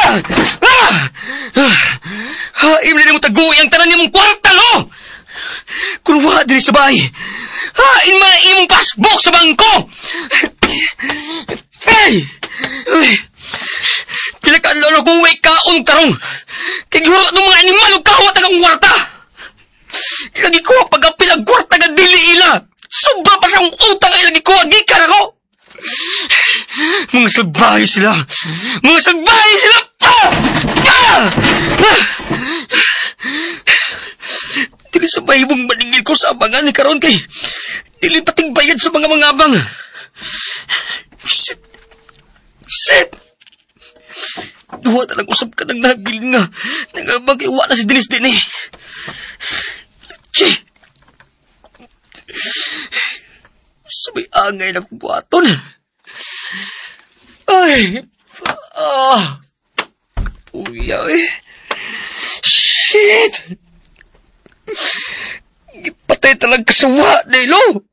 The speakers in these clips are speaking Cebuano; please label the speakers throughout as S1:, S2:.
S1: Ah! Ah! Ah! Ah! Imli na mo taguhi ang tanan nimong kwarta, lo! Kung wa diri sa bahay, hain man ang imong passbook sa bangko! Ay! Ay! Pila ka lolo kung way kaon karong! Kay gihurot ng mga animal ug kawat ang akong kwarta! Lagi ko pagapil ang kwarta nga dili ila! Sobra pa sa akong utang ay lagi ko gikan ako! Mga salbahe sila! Mga salbahe sila! Ah! Ah! Ah! Dili sa bahibong maningil ko sa abangan ni karon kay dili pating bayad sa mga abang. Shit! Shit! Duha na lang usab ka ng nagil nga. Nangabang kay wa na si Denise din eh. Che! Sabay angay na kong buhaton. Ay! Ah! Puya eh. Shit! Gipatay talaga kasawa, Nilo!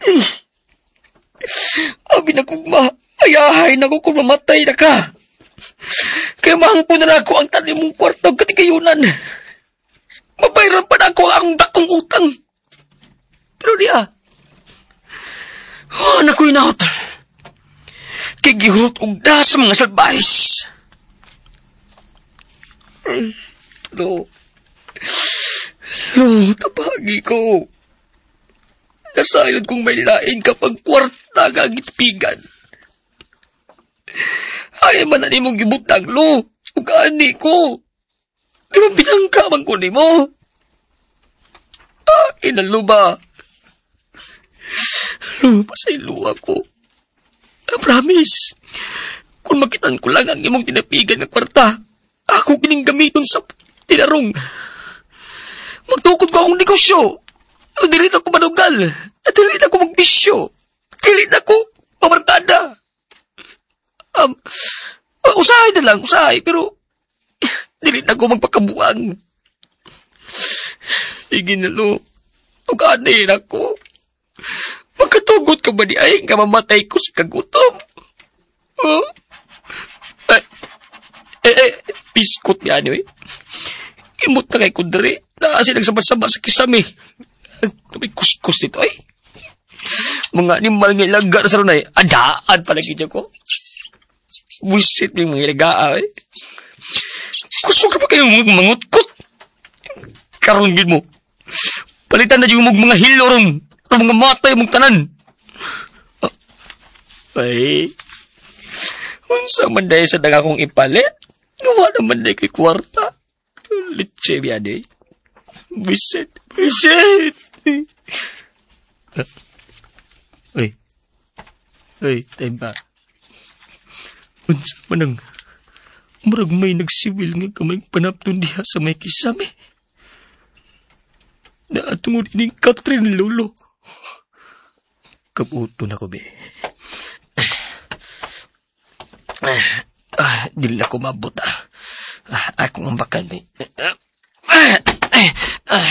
S1: Eh. Abi na kong ayahay na ko kung mamatay na ka. Kaya mahangpo na ako ang tanim mong kwarta ug katigayunan. Mabayran pa na ako ang akong dakong utang. Pero diya, oh, nakoy naot. Kay gihurot og da sa mga salbahis. Ay, lo. Lo, tabagi ko. Nasayod kong may lain kapag kwarta nga gitpigan. Ay, man na nimong gibutang, lo. Ug ani ko. Di ba binangka man ko nimo? Ah, inalo ba? Lo, pasaylo ako. I promise. Kung makitan ko lang ang imong tinapigan nga kwarta, ako kining gamiton sa tinarong. Magtukod ko akong negosyo. Dili na ko manugal. Dili na ko magbisyo. Dili na ko mamarkada. Usahay na lang, usahay. Pero, dili na ko magpakabuang. Sige na, lo. Tugani na ko. Magkatugot ka ba di ay nga mamatay ko sa kagutom? Huh? Ay, eh, eh, biskot niya eh. Imot na kay kundri. Naasi nagsama-sama sa kisami. May kuskus dito ay. Mga animal nga ilaga na sa runay. Adaan pala gidyo ko. Buisit yung mga ilaga ay. Kusog ka pa kayo mangutkot. Karon gid mo. Palitan na yung mga hilo ron. Ang mga matay mong tanan. Ay. Unsa man dahil sa daga kong ipalit? Gawa naman dahil kay kwarta. Litse biya di. Buisit. Buisit. Uy. Uy, time pa. Unsa man ang murag may nagsiwil nga kamay panapton diha sa may kisame. Naatungod ining Catherine Lolo. Kabuto na ko, be. Ah, dili ako mabot, ah. Ah, akong ambakan, be. Ah, ah, ah, ah,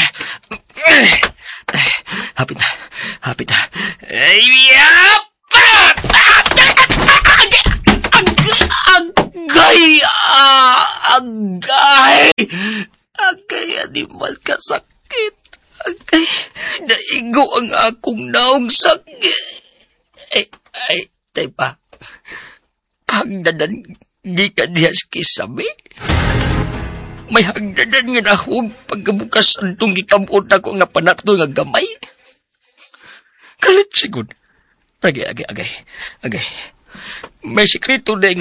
S1: hapit na, hapit na. Ay, yap! Agay! Agay! Agay, animal ka sakit. Agay, naigo ang akong naong sakit. Ay, ay, tay pa. Hagdadan, di ka diya sa kisame. May hagdadan nga nahug pagkabukas antong gikamot ako nga panato nga gamay. Kalit sigud. Agay, agay, agay. Agay. May sikreto na nga